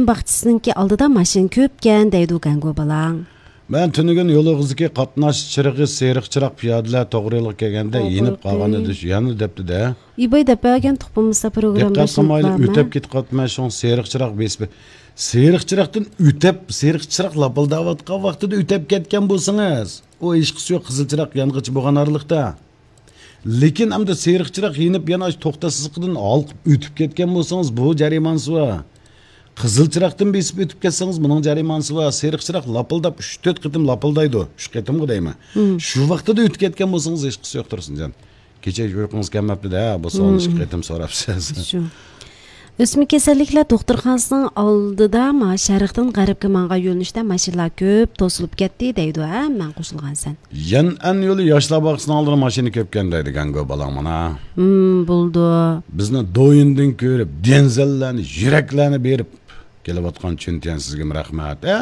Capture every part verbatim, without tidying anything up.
باغچىسىنىڭكى ئالدىدا ماشىنا كۆپكەن دەيدۇ گەڭگو بالاڭ. مەن تۈنۈگۈن يول ئېغىزىدىكى قاتناش چىرىغى سېرىق چىراغ پىيادىلەر توغرا يولغا كەلگەندە يېنىپ قالغان ئىدى، شۇ يەنە دەپتۇ-دە. ئىباي دەپ بەرگەن تۇق بولمىسا پروگرامدا دىققەت قىلمايلا ئۆتەپ كېتىپ قاپتىمەن، شۇڭا سېرىق چىراغ بېسىپ، سېرىق چىراغدىن ئۆتەپ، سېرىق چىراغ لاپىلداۋاتقان ۋاقتىدا ئۆتەپ كەتكەن بولسىڭىز، ئۇ ھېچقىسى يوق، قىزىل چىراغ يانغىچە بولغان ئارىلىقتا. لېكىن ئەمدى سېرىق چىراغ يېنىپ، يەنە ئاشۇ توختاش سىزىقىدىن ھالقىپ ئۆتۈپ كەتكەن بولسىڭىز، بۇ جەرىمانىسى بار. قىزىل چىراغدىن بېسىپ ئۆتۈپ كەتسىڭىز، بۇنىڭ جەرىمانىسى بار. سېرىق چىراغ لاپىلداپ ئۈچ تۆت قېتىم لاپىلدايدۇ. ئۈچ قېتىمغۇ دەيمەن. شۇ ۋاقتىدا ئۆتۈپ كەتكەن بولسىڭىز، ھېچقىسى يوق، تۇرسۇنجان. كېچە ھېچ ئۇيقۇڭىز كەلمەپتۇ-دە، بۇ سوئالنى ئىككى قېتىم سوراپسىز. شۇ. ئۆسمە كېسەللىكلەر دوختۇرخانىسىنىڭ ئالدىدا، ما، شەرقتىن غەربكە ماڭغان يۆنىلىشتە ماشىنىلار كۆپ، توسۇلۇپ كەتتى دەيدۇ، ھە، مەن قوشۇلغان سەن. يەنئەن يولى ياشلار باغچىسىنىڭ ئالدىدا ماشىنا كۆپكەن دەيدۇ گەڭگو بالاڭ مانا. ھىم، بولىدۇ. بىزنى دويۇندىن كۆرۈپ، دېڭزەللەرنى، يۈرەكلەرنى بېرىپ كېلىۋاتقان چۈنتيەن سىزگىمۇ رەھمەت، ھە؟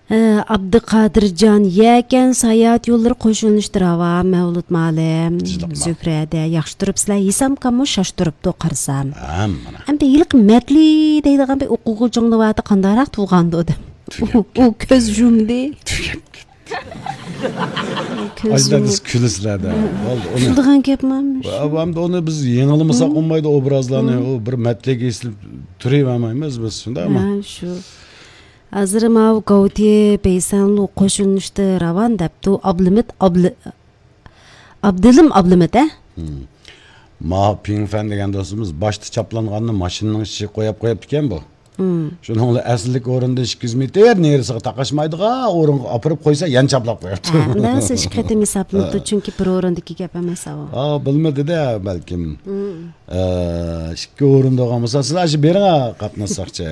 ئە، ئابدۇقادىرجان، يەكەن ساياھەت يوللىرى قوش يۆنىلىشتە راۋان، مەۋلۇت مالىم، زۆھرەدە، ياخشى تۇرۇپسىلەر، ھېسامكاممۇ شاش تۇرۇپتۇ قارىسام. ھە، مانا. ئەمدى ھېلىقى مەتلى دەيدىغان بىر ئوقۇغۇچىڭنى ۋاتى قانداقراق تۇغاندۇ دەپ. ئۇ، ئۇ كۆز يۇمدى. تۈگەپ كەتتى. كۆز يۇمۇپ. كۈلىسىلەردە. بولدى، ئۇنى. كۈلىدىغان گەپمۇ؟ ئەمدى ئۇنى بىز يېڭىلىمىساق بولمايدۇ، ئوبرازلارنى. ئۇ بىر مەتلىككە ئېسىلىپ تۇرۇۋەرمەيمىز بىز، شۇنداقمۇ؟ ھە، شۇ. ھازىر ماۋۇ گاۋتى بەيسەنلۇ قوشۇلۇشتا راۋان دەپتۇ. ئابلىمىت، ئابلى-، ئابدىلىم ئابلىمىت، ھە؟ ما پىڭفەن دېگەن دوستىمىز باشتا چاپلانغاننى ماشىنىنىڭ ئىچىگە قويۇپ قويۇپتىكەن بۇ. شۇنىڭ بىلەن ئەسلىدىكى ئورۇندا ئىككى يۈز مېتىر نېرىسىغا تاقاشمايدىغان ئورۇنغا ئاپىرىپ قويسا، يەنە چاپلاپ قويۇپتۇ. ھە، ئۇنداق بولسا ئىككى قېتىم ھېسابلىنىپتۇ، چۈنكى بىر ئورۇندىكى گەپ ئەمەس ئۇ. ئا، بىلمىدى-دە بەلكىم. ئە، ئىككى ئورۇندا بولغان بولسا، سىز ئاشۇ بېرىڭ، قاتناش ساقچى.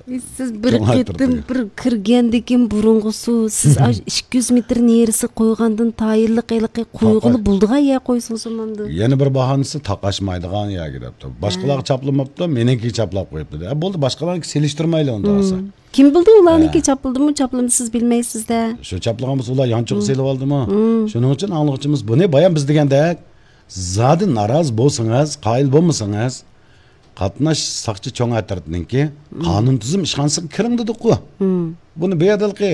سىز بىر قېتىم بىر كىرگەندىن كېيىن بۇرۇنغۇسى، سىز ئاشۇ ئىككى يۈز مېتىر نېرىسى قويغاندىن تايىنلىق ھېلىقى قويغىلى بولىدىغان يەر قويسىڭىز بولمامدۇ؟ يەنە بىر باھانىسى تاقاشمايدىغان يەرگە دەپتۇ. باشقىلارغا چاپلىماپتۇ، مېنىڭكىگە چاپلاپ قويۇپتۇ. ئە، بولدى، باشقىلارنىڭكى سېلىشتۇرمايلى ئۇنداق بولسا. كىم بىلدى، ئۇلارنىڭكى چاپلىدىمۇ، چاپلىمىدى، سىز بىلمەيسىز-دە. شۇ چاپلىغان بولسا، ئۇلار يانچۇققا سېلىۋالدىمۇ؟ شۇنىڭ ئۈچۈن ئاڭلىغۇچىمىز بۇنى بايان بىز دېگەندەك، زادى نارازى بولسىڭىز، قايىل بولمىسىڭىز، قاتناش ساقچى چوڭ ئەترىتىنىڭكى قانۇن تۈزۈم ئىشخانىسىغا كىرىڭ دېدۇققۇ. بۇنى بۇ يەردىكى،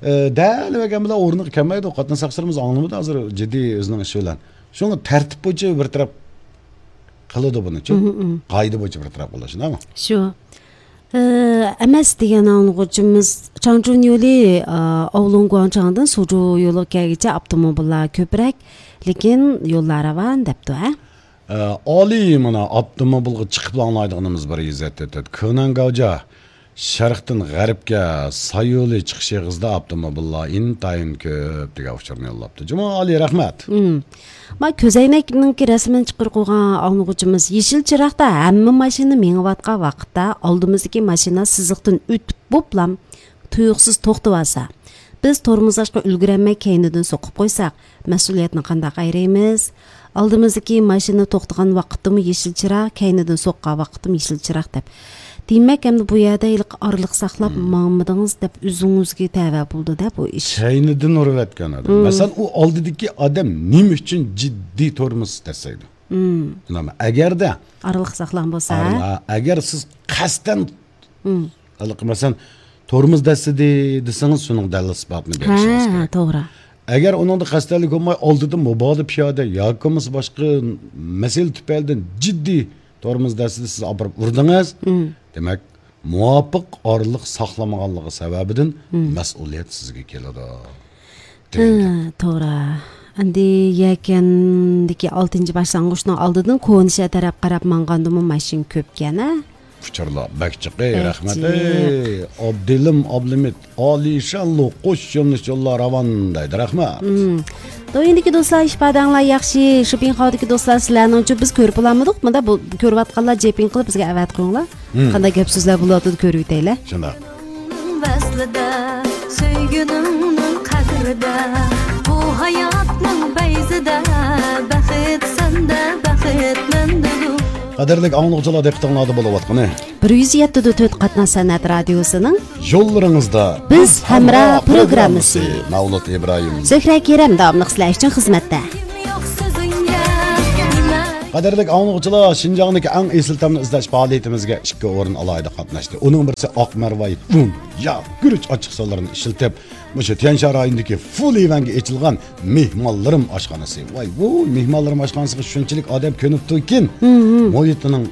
ئە، دەل بەرگەن بىلەن ئورنىغا كەلمەيدۇ. قاتناش ساقچىلىرىمىز ئاڭلىمىدى ھازىر جىددىي ئۆزىنىڭ ئىشى بىلەن. شۇڭا تەرتىپ بويىچە بىر تەرەپ قىلىدۇ بۇنىچۇ. قائىدە بويىچە بىر تەرەپ قىلىدۇ، شۇنداقمۇ؟ شۇ. ئە، ئەمەس دېگەن ئاڭلىغۇچىمىز چاڭچۈن يولى، ئا، ئاۋلۇڭگۇاڭچاڭدىن سۇجۇ يولىغا كەلگۈچە ئاپتوموبىللار كۆپرەك، لېكىن يوللار راۋان دەپتۇ، ھە؟ ئە، ئالىي، مانا، ئاپتوموبىلغا چىقىپلا ئاڭلايدىغىنىمىز بار، ئىززەت تۆتەت. كېنەن گاۋجا، شەرقتىن غەربكە ساي يولى چىقىش ئېغىزىدا ئاپتوموبىللار ئىنتايىن كۆپ دېگەن ئۇچۇرنى يوللاپتۇ. جۇمۇ ئالىي، رەھمەت. مم. ما كۆزەينەكنىڭكى رەسىمىنى چىقىرىپ قويغان ئاڭلىغۇچىمىز، يېشىل چىراغدا ھەممە ماشىنا مېڭىۋاتقان ۋاقىتتا ئالدىمىزدىكى ماشىنا سىزىقتىن ئۆتۈپ بوپلام تۇيۇقسىز توختىۋالسا، بىز تورمۇز ئاچقا ئۈلگۈرەلمەي كەينىدىن سوقۇپ قويساق، مەسئۇلىيەتنى قانداق ئايرىيمىز؟ ئالدىمىزدىكى ماشىنا توختىغان ۋاقىتتىمۇ يېشىل چىراغ، كەينىدىن سوققان ۋاقىتتىمۇ يېشىل چىراغ دەپ. دېمەك، ئەمدى بۇ يەردە ھېلىقى ئارىلىق ساقلاپ ماڭمىدىڭىز دەپ ئۆزىڭىزگە تەۋە بولىدۇ-دە بۇ ئىش. كەينىدىن ئۇرۇۋەتكەن ئادەم. مەسىلەن، ئۇ ئالدىدىكى ئادەم نېمە ئۈچۈن جىددىي تورمۇز دەسسەيدۇ؟ ئەگەردە ئارىلىق ساقلىغان بولسا، ئەگەر سىز قەستەن ھېلىقى، مەسىلەن، تورمۇز دەسسىدى دېسىڭىز، شۇنىڭ دەلىل ئىسپاتىنى بېرىشىڭىز كېرەك. توغرا. ئەگەر ئۇنىڭدا قەستەنلىك بولماي، ئالدىدا مۇبادا پىيادە ياكى بولمىسا باشقا مەسىلە تۈپەيلىدىن جىددىي تورمۇز دەسسىدى سىز ئاپىرىپ ئۇردىڭىز، دېمەك، مۇۋاپىق ئارىلىق ساقلىمىغانلىقى سەۋەبىدىن مەسئۇلىيەت سىزگە كېلىدۇ. ھە، توغرا. ئەمدى يەكەندىكى ئالتىنچى باشلانغۇچنىڭ ئالدىدىن كونا شەھەر تەرەپ قاراپ ماڭغاندىمۇ ماشىنا كۆپكەن، ھە؟ ئۇچۇرلار بەك جىق، ئەي، رەھمەت، ئەي، ئابدىلىم ئابلىمىت، ئالىشانلۇق قوش يۆنىلىش يوللار راۋان دەيدۇ، رەھمەت. تويىندىكى دوستلار، ئىپادەڭلار ياخشى. شۇپىڭخاۋدىكى دوستلار، سىلەرنىڭچۇ؟ بىز كۆرۈپ بولالمىدۇق. مۇندا بۇ، كۆرۈۋاتقانلار جېپىڭ قىلىپ بىزگە ئەۋەت قويۇڭلار. قانداق گەپ سۆزلەر بولۇۋاتىدۇ، كۆرۈۋېتەيلى. شۇنداق. ۋەسلىدە، سۆيگۈنۈڭنىڭ قەدرىدە، بۇ ھاياتنىڭ پەيزىدە، بەخت سەندە، بەخت مەندىدۇر. قەدىرلىك ئاڭلىغۇچىلار، دىققىتىڭلاردا بولۇۋاتقىنى بىر يۈز يەتتە نۆقتە تۆت قاتناش سەنئەت رادىيوسىنىڭ يوللىرىڭىزدا بىز ھەمراھ پروگراممىسى. مەۋلۇت ئىبراھىم، زۆھرە كېرەم داۋاملىق سىلەر ئۈچۈن خىزمەتتە. قەدىرلىك ئاڭلىغۇچىلار، شىنجاڭدىكى ئەڭ ئېسىل تەمنى ئىزدەش پائالىيىتىمىزگە ئىككى ئورۇن ئالاھىدە قاتناشتى. ئۇنىڭ بىرسى ئاق مەرۋايىت ئۇن، ياغ، گۈرۈچ ئاچچىقسۇلىرىنى ئىشلىتىپ، مۇشۇ تيەنشان رايونىدىكى فۇلىۋەنگە ئېچىلغان مېھمانلىرىم ئاشخانىسى. ۋاي ۋۇي، مېھمانلىرىم ئاشخانىسىغا شۇنچىلىك ئادەم كۆنۈپتۇكىن، مۇھىتىنىڭ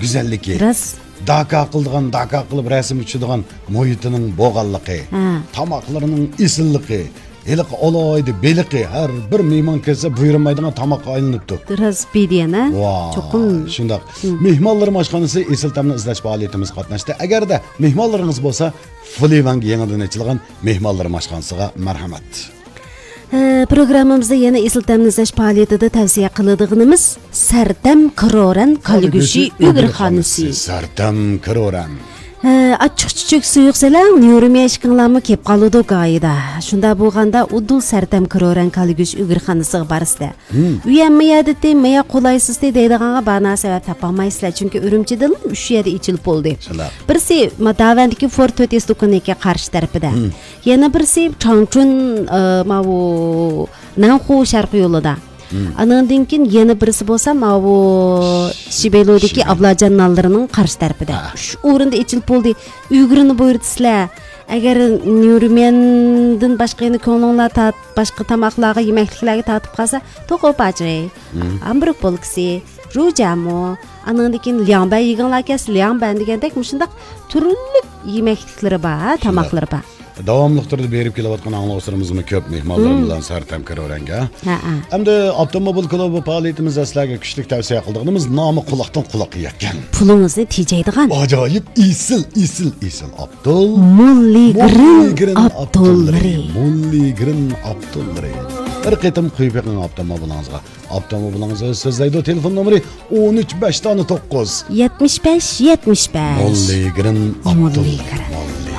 گۈزەللىكى، راست، داكا قىلىدىغان، داكا قىلىپ رەسىمگە چۈشىدىغان مۇھىتىنىڭ بولغانلىقى، ھە، تاماقلىرىنىڭ ئېسىللىقى، ھېلىقى ئالاھىدە بېلىقى، ھەر بىر مېھمان كەلسە بۇيرۇمايدىغان تاماققا ئايلىنىپتۇ. راست، بىدىيەن، ھە؟ ۋاي، چوقۇم. شۇنداق. مېھمانلىرىم ئاشخانىسى ئېسىل تەمنى ئىزدەش پائالىيىتىمىزگە قاتناشتى. ئەگەردە مېھمانلىرىڭىز بولسا، فۇلىۋەنگە يېڭىدىن ئېچىلغان مېھمانلىرىم ئاشخانىسىغا مەرھەمەت. ھە، پروگراممىمىزدا يەنە ئېسىل تەمنى ئىزدەش پائالىيىتىدە تەۋسىيە قىلىدىغىنىمىز سەرتەم كرورەن كالىگۈشى ئۆگرىخانىسى. سەرتەم كرورەن. ھە، ئاچچىق چۈچۈك سۇيۇق سېلىڭ، نيۇرميەشكىڭلارمۇ كېپ قالىدۇ گايىدا. شۇنداق بولغاندا ئۇدۇل سەرتەم كرورەن كالىگۈشى ئۆگرىخانىسىغا بارسىلە. ئۇ يەنمۇ يەدىتى، مايا قولايسىزتى دەيدىغانغا بانا سەۋەب تاپالمايسىلەر، چۈنكى ئۈرۈمچىدىنلا ئۈچ يەردە ئېچىلىپ بولدى. شۇنداق. بىرسى، ما-، داۋەندىكى فور تۆت يۈز دۇكىنىنىڭكى قارشى تەرىپىدە. يەنە بىرسى، چاڭچۈن، ئە، ماۋۇ، نەنخۇ شەرقىي يولىدا. ئانىڭدىن كېيىن يەنە بىرسى بولسا، ماۋۇ، شىبېلۇدىكى شىبېلۇ. ئابلاجان نانلىرىنىڭ قارشى تەرىپىدە. ھە. ئۈچ ئورۇندا ئېچىلىپ بولدى. ئۈگرىنى بۇيرۇتىسىلەر. ئەگەر نيۇرميەندىن باشقا يەنە كۆڭلۈڭلار تارت-، باشقا تاماقلارغا، يېمەكلىكلەرگە تارتىپ قالسا، توقوپاچى، ھامبۇرگ بولكىسى، رۇجامۇ، ئانىڭدىن كېيىن لياڭبەن يېگىڭلار كەلسە، لياڭبەن دېگەندەك مۇشۇنداق تۈرلۈك يېمەكلىكلىرى بار، ھە، شۇنداق. تاماقلىرى بار. داۋاملىق تۈردە بېرىپ كېلىۋاتقان ئاڭلىغۇچىلىرىمىزمۇ كۆپ، مېھمانلىرىمىز بىلەن سەرتەم كىرورەنگە. ھە، ھە. ئەمدى ئاپتوموبىل كۇلۇبى پائالىيىتىمىزدە سىلەرگە كۈچلۈك تەۋسىيە قىلىدىغىنىمىز نامى قۇلاقتىن قۇلاققا يەتكەن. پۇلىڭىزنى تېجەيدىغان. ئاجايىپ ئېسىل، ئېسىل، ئېسىل ئاپتول. موللىگرىن ئاپتوللىرى. موللىگرىن ئاپتوللىرى. بىر قېتىم قويۇپ بېقىڭ ئاپتوموبىلىڭىزغا. ئاپتوموبىلىڭىز ئۆزى سۆزلەيدۇ. تېلېفون نومۇرى ئون ئۈچ بەش دانە توققۇز. يەتمىش بەش يەتمىش بەش. موللىگرىن ئاپتول. موللىگرىن.